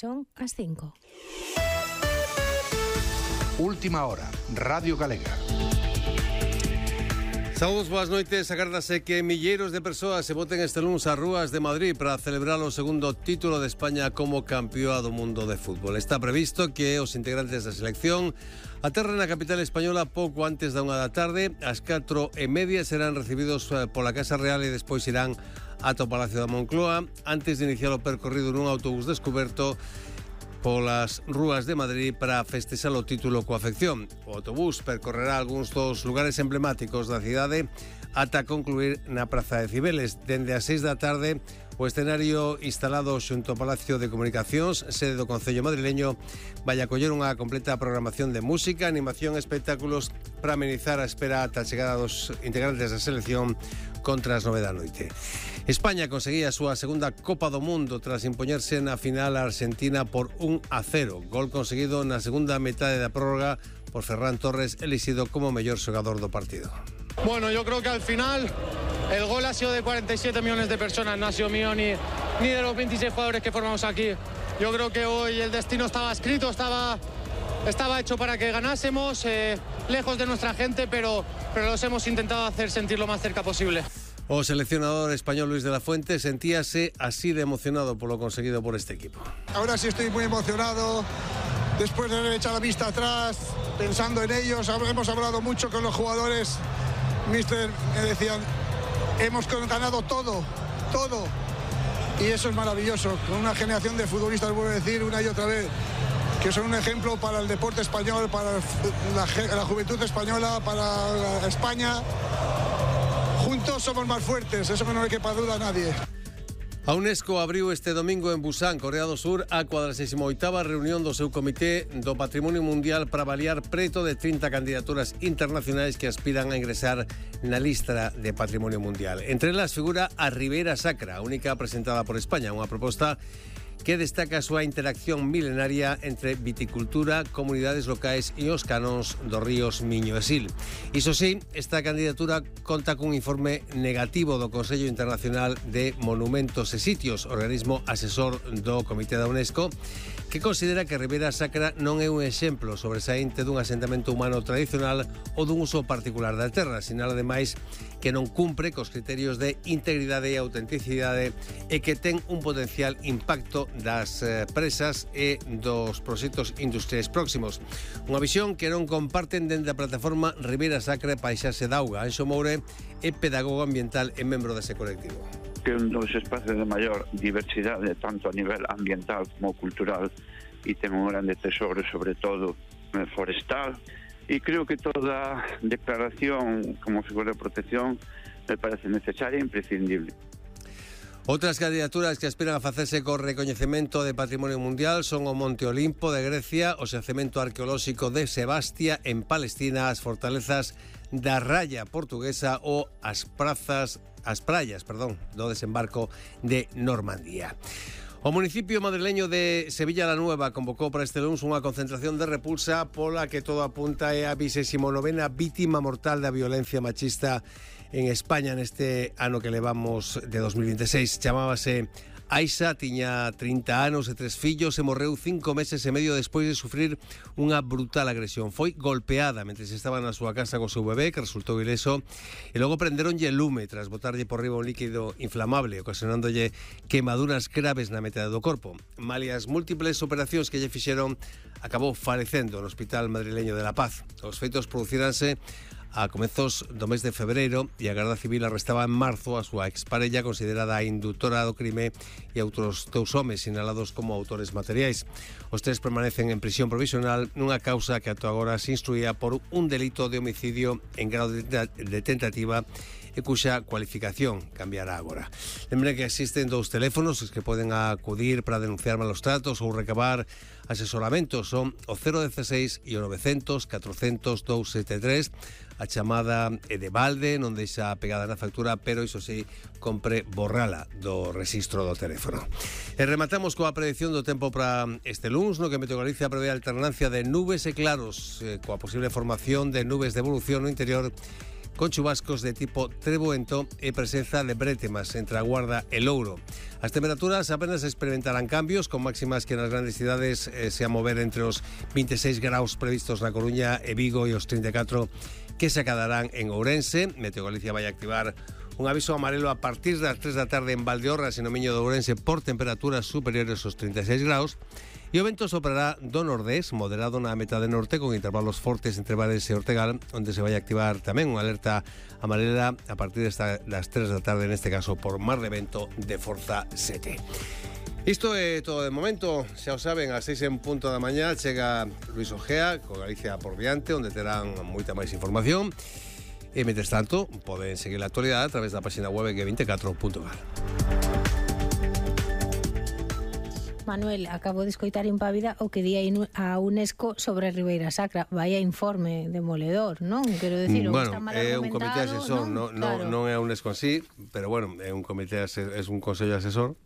son as 5. Última hora, Radio Galega. Saúdos, boas noites. Agárdase que milleiros de persoas se voten este luns ás rúas de Madrid para celebrar o segundo título de España como campeoa do mundo de fútbol. Está previsto que os integrantes da selección aterren na capital española pouco antes da 1 da tarde. Ás 4:30 serán recibidos pola Casa Real e despois irán ata o Palacio da Moncloa antes de iniciar o percorrido nun autobús descuberto polas rúas de Madrid para festexar o título coa afección. O autobús percorrerá algúns dos lugares emblemáticos da cidade ata concluir na Praza de Cibeles. Dende as 6 da tarde, o escenario instalado xunto ao Palacio de Comunicacións, sede do Concello madrileño, vai acoller unha completa programación de música, animación e espectáculos para amenizar a espera ata a chegada dos integrantes da selección contra as 9 da noite. España conseguía a súa segunda Copa do Mundo tras impoñerse na final a Argentina por 1-0. Gol conseguido na segunda metade da prórroga por Ferran Torres, elixido como mellor xogador do partido. Bueno, yo creo que al final el gol ha sido de 47 millones de personas, no ha sido mío ni de los 26 jugadores que formamos aquí. Yo creo que hoy el destino estaba escrito, estaba hecho para que ganásemos, lejos de nuestra gente, pero los hemos intentado hacer sentir lo más cerca posible. O seleccionador español Luis de la Fuente sentíase así de emocionado por lo conseguido por este equipo. Ahora sí estoy muy emocionado, después de haber echado la vista atrás, pensando en ellos. Hemos hablado mucho con los jugadores. Mister, me decían, hemos ganado todo. Y eso es maravilloso, con una generación de futbolistas, vuelvo a decir una y otra vez, que son un ejemplo para el deporte español, para la juventud española, para España. Juntos somos más fuertes, eso que no le quepa duda a nadie. A UNESCO abriu este domingo en Busan, Corea do Sur, a 48ª reunión do seu Comité do Patrimonio Mundial para avaliar preto de 30 candidaturas internacionais que aspiran a ingresar na lista de Patrimonio Mundial. Entre elas figura a Ribeira Sacra, a única presentada por España, unha proposta que destaca a súa interacción milenaria entre viticultura, comunidades locais e os canóns dos ríos Miño e Sil. Iso sí, esta candidatura conta cun informe negativo do Consello Internacional de Monumentos e Sitios, organismo asesor do Comité da UNESCO, que considera que Ribeira Sacra non é un exemplo sobresaínte dun asentamento humano tradicional ou dun uso particular da terra, sinala ademais que non cumpre cos criterios de integridade e autenticidade e que ten un potencial impacto das presas e dos proxectos industriais próximos. Unha visión que non comparten dende a plataforma Ribeira Sacra Paisaxe d'Auga. Anxo Moure é pedagogo ambiental e membro dese colectivo. Que un dos espacios de maior diversidade, tanto a nivel ambiental como cultural, e ten un grande tesoro, sobre todo forestal, e creo que toda declaración como figura de protección me parece necesaria e imprescindible. Outras candidaturas que aspiran a facerse co recoñecemento de Patrimonio Mundial son o Monte Olimpo de Grecia, o xacemento arqueolóxico de Sebastia en Palestina, as fortalezas da Raya portuguesa ou as praias, do desembarco de Normandía. O municipio madrileño de Sevilla la Nueva convocou para este luns unha concentración de repulsa pola que todo apunta é a 29ª vítima mortal da violencia machista en España neste ano que levamos de 2026. Chamábase Aixa, tiña 30 anos e 3 fillos e morreu 5 meses e medio despois de sufrir unha brutal agresión. Foi golpeada mentre estaba na súa casa co seu bebé, que resultou ileso, e logo prenderonlle lume tras botarlle por riba un líquido inflamable, ocasionándolle quemaduras graves na metade do corpo. Malias múltiples operacións que lle fixeron, acabou falecendo no Hospital Madrileño de La Paz. Os feitos producíranse a comezos do mes de febreiro e a Garda Civil arrestaba en marzo a súa exparella considerada a indutora do crime e outros 2 homes sinalados como autores materiais. Os 3 permanecen en prisión provisional nunha causa que ata agora se instruía por un delito de homicidio en grado de tentativa e cuxa cualificación cambiará agora. Lembre que existen 2 teléfonos que poden acudir para denunciar malos tratos ou recabar asesoramentos. Son o 016 e o 900 400 273. A chamada é de balde, non deixa pegada na factura, pero iso sí, compre borrala do rexistro do teléfono. E rematamos coa predicción do tempo para este luns, no que Meteo Galicia prevé a alternancia de nubes e claros, coa posible formación de nubes de evolución no interior con chubascos de tipo trebuento e presenza de brétemas entre a Guarda e Louro. As temperaturas apenas experimentarán cambios, con máximas que nas grandes cidades se a mover entre os 26 graus previstos na Coruña e Vigo e os 34 que se acadarán en Ourense. Meteo Galicia vai activar un aviso amarelo a partir das 3 da tarde en Valdeorras e no Miño de Ourense por temperaturas superiores aos 36 graus. E o vento soprará do nordés, moderado na metade norte, con intervalos fortes entre Bares e Ortegal, onde se vai activar tamén unha alerta amarela a partir das 3 da tarde, neste caso por mar de vento de forza 7. Isto é todo de momento, xa o saben, ás 6 en punto da mañá chega Luis Ojea, con Galicia por diante, onde terán moita máis información. E, mentres tanto, poden seguir a actualidade a través da página web g24.gal. Manuel, acabo de escoitar en Pávida o que di a UNESCO sobre a Ribeira Sacra. Vaya informe demoledor, non? Quero decir, bueno, está mal é un argumentado, comité asesor, non é a UNESCO en sí, pero bueno, é un comité, é un consello asesor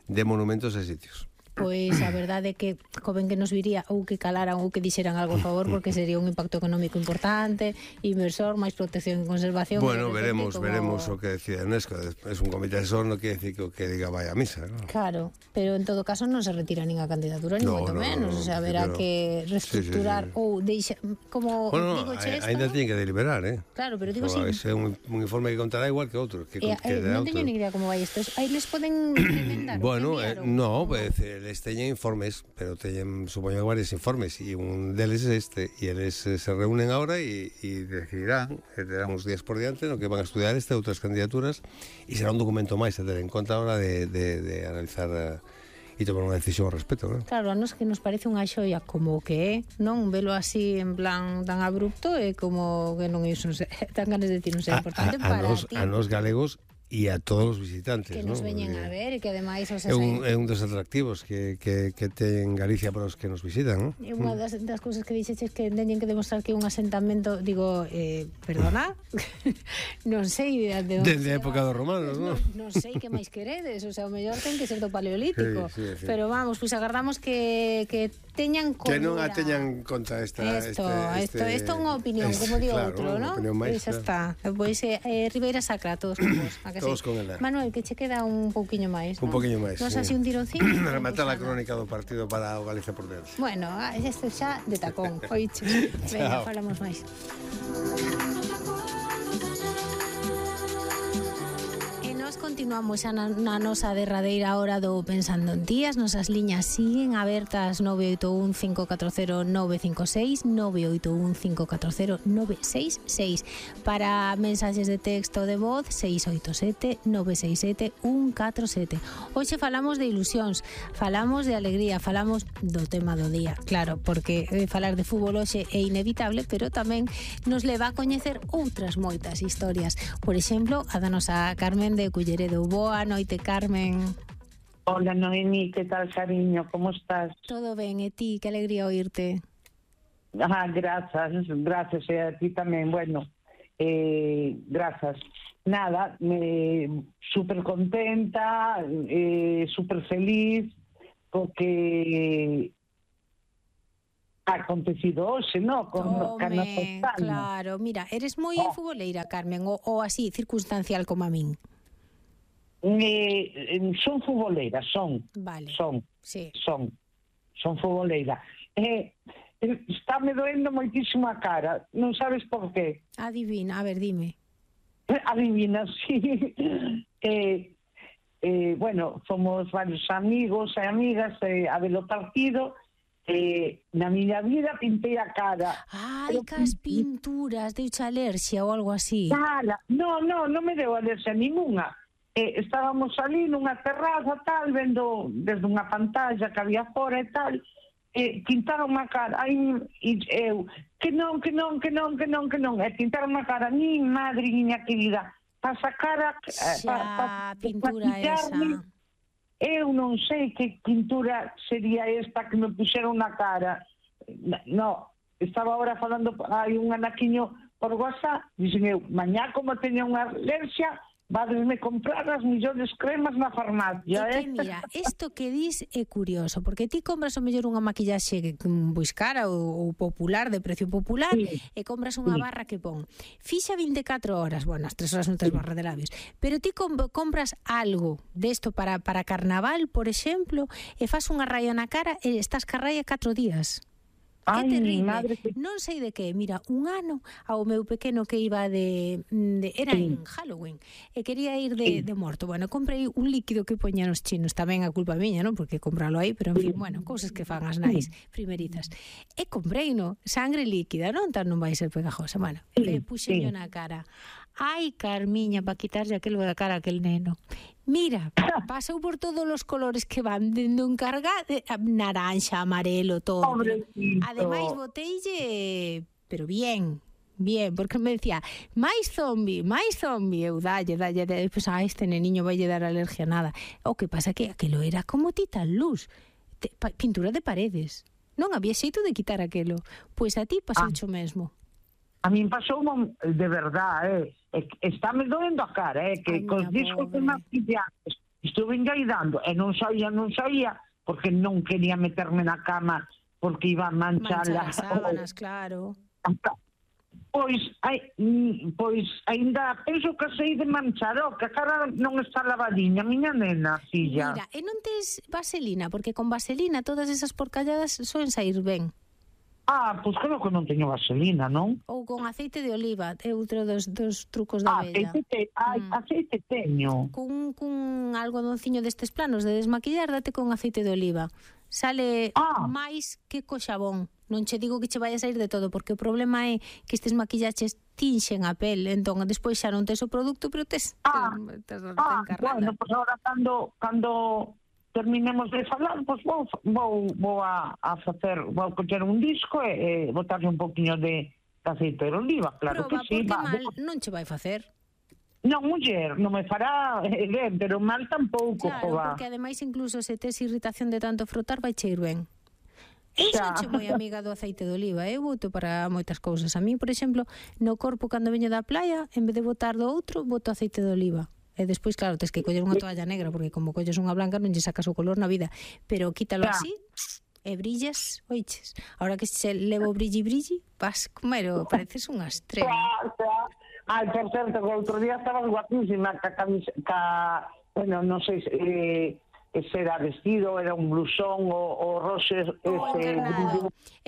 de monumentos e sitios. Pois a verdade é que convén que nos viría ou que calaran ou que dixeran algo a favor, porque sería un impacto económico importante, inversor, máis protección e conservación. Bueno, veremos o que decide UNESCO. Es un comité asesor, non quere decir que o que diga vai a misa, ¿no? Claro, pero en todo caso non se retira nin a candidatura, ni moito menos. O sea, haberá que reestructurar ou deixa, como digo che, ainda tiene que deliberar, Claro, pero digo é un informe que contará igual que outro, non teño ni idea como vai isto. Aí les poden recomendar. Bueno, no, les teñen informes, pero teñen, supoño, varios informes, e un deles é este, e eles se reúnen ahora e decidirán, terán uns días por diante no que van a estudiar este e outras candidaturas, e será un documento máis a ter en conta a hora de analizar e tomar unha decisión ao respecto, non? Claro, a nos que nos parece unha xoia como que é, non velo así en plan tan abrupto, e como que non é tan ganas de decir non sei importante para ti. A nos galegos e a todos os visitantes, que nos veñen a ver, e que ademais é un dos atractivos que ten Galicia para os que nos visitan, non? E unha das cousas que dixeches que teñen que demostrar que é un asentamento, digo, perdona, non sei de onde desde a época dos romanos, non? Non sei que máis queredes, o sea, o mellor ten que ser do Paleolítico, sí. pero vamos, pois agardamos que teñan que non a teñan conta isto é unha opinión, como di outro, non? Pois xa está. Pois Ribeira Sacra, todos con vos. Todos con ela. Manuel, que che queda un pouquiño máis, un pouquiño máis. Non así un tironcín. Rematar a crónica do partido para o Galicia por dentro. Bueno, este xa de tacón. Oiche. Venga, falamos máis. Continuamos xa na nosa derradeira hora do Pensando en Ti. As nosas liñas siguen abertas 981 540 956 981 540 966 para mensaxes de texto de voz 687 967 147. Hoxe falamos de ilusións, falamos de alegría, falamos do tema do día, claro, porque falar de fútbol hoxe é inevitable, pero tamén nos leva a coñecer outras moitas historias. Por exemplo, a da nosa Carmen de Culleredo. Boa noite, Carmen. Hola, Noemi, que tal, cariño? Como estás? Todo ben, e ti? Que alegría oírte. Gracias, e a ti tamén. Bueno, gracias. Nada, súper contenta, súper feliz, porque ha acontecido hoxe, ¿no? Claro, mira, eres moi futboleira, Carmen, ou así, circunstancial como a min? Son futboleira, vale. Son futboleira. Estáme doendo moitísimo a cara, non sabes por qué. Adivina, a ver, dime. Adivina, sí. Bueno, somos varios amigos e amigas a ver o partido. Na miña vida pintei a cara. Ai, cas pinturas, deuche alerxia ou algo así. Non me deu alerxia ninguna. Estábamos ali nunha terraza tal, vendo desde unha pantalla que había fora e tal, pintaron a cara, e eu, que non, e pintaron a cara, nin madre, niña querida, para sacar a pintura esa. Eu non sei que pintura sería esta que me puxeron na cara. No, estaba ahora falando, hai un anaquiño por WhatsApp, dixen eu, mañá como teña unha alerxia, vadesme comprar as millores cremas na farmacia, É que, mira, isto que dis é curioso, porque ti compras o mellor unha maquillaxe pois cara ou popular, de precio popular, e compras unha barra que pon fixa 24 horas, bueno, as 3 horas non tes barra de labios, pero ti compras algo desto para carnaval, por exemplo, e fas unha raya na cara e estás ca raya 4 días. É terrible, non sei de que. Mira, un ano ao meu pequeno que iba era en Halloween e quería ir de morto. Bueno, comprei un líquido que poñan os chinos, tamén a culpa miña, non? Porque compralo aí, pero en fin, bueno, cousas que fan as nais primerizas. E comprei, no, sangre líquida, non? Tan non vai ser pegajosa. Bueno, puxenlo na cara. Ai, Carmiña, para quitarlle aquilo da cara a aquel neno. Mira, pasou por todos os colores que van dendo encargado, naranja, amarelo, todo. Pobrecito. Ademais, boteille, pero bien, porque me decía, máis zombie, eu dalle, pues a este neniño vai lle dar alergia a nada. O que pasa que aquilo era como titan luz, pintura de paredes. Non había xeito de quitar aquilo. Pois a ti pasou o mesmo. A min pasou de verdade, estáme doendo a cara, que cos discos de maquillajes estuve engaidando e non saía, porque non quería meterme na cama porque iba a manchar as sábanas, claro. Pois ainda penso que sei de manchar, que a cara non está lavadiña, miña nena, filla. Mira, e non tes vaselina, porque con vaselina todas esas porcalladas soen sair ben. Pois creo que non teño vaselina, non? Ou con aceite de oliva, é outro dos trucos da vella. Aceite teño. Cun algodonciño destes planos de desmaquillar, date con aceite de oliva. Sale máis que co xabón. Non che digo que che vai a sair de todo, porque o problema é que estes maquillaches tinxen a pel, entón despois xa non tes o produto, pero tes encarrada. Bueno, pois agora cando terminemos de falar, pois vou a facer, vou coller un disco e botarle un poquinho de aceite de oliva, claro. Proba, que sí. Porque mal non che vai facer. Non, muller, non me fará ben, pero mal tampouco. Claro, porque ademais incluso se tes irritación de tanto frotar, vai che ir ben. Eu son moi amiga do aceite de oliva, eu boto para moitas cousas. A mí, por exemplo, no corpo cando veño da playa, en vez de botar do outro, boto aceite de oliva. E despois, claro, tes que coller unha toalla negra, porque como colles unha blanca non lle sacas o color na vida. Pero quítalo así e brillas, oiches. Ahora que se levo brilli, vas comero, pareces unha estrela. Ai, por certo, que outro día estabas guapísima bueno, non sei se era vestido, era un blusón o roxe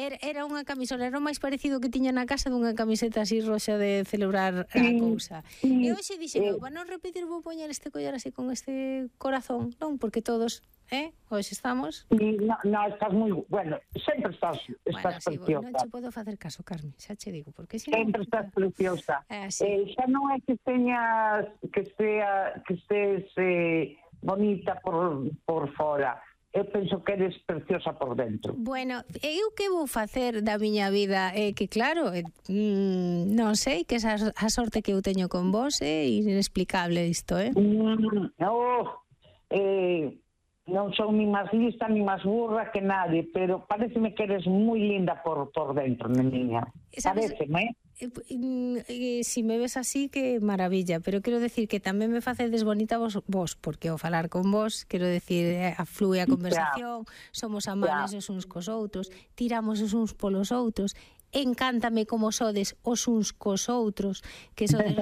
era unha camisola, era o máis parecido que tiña na casa dunha camiseta así roxa de celebrar a cousa. E hoxe dixen, para non repetir vou poñer este collar así con este corazón, non? Porque todos, hoxe estamos... No, estás moi... Bueno, sempre estás preciosa. Non che podo facer caso, Carmen, xa che digo, porque sempre estás preciosa. Xa non é que teñas que estés bonita por fora. Eu penso que eres preciosa por dentro. Bueno, eu que vou facer da miña vida? Que claro, non sei, que esa a sorte que eu teño con vos é inexplicable isto, non son ni máis lista ni máis burra que nadie, pero pareceme que eres moi linda por dentro, niña. Pareceme, Si me ves así, que maravilla, pero quero decir que tamén me facedes bonita vos, porque ao falar con vos, quero decir, flúe a conversación, somos amables os uns cos outros, tiramos os uns polos outros, encántame como sodes os uns cos outros, que sodes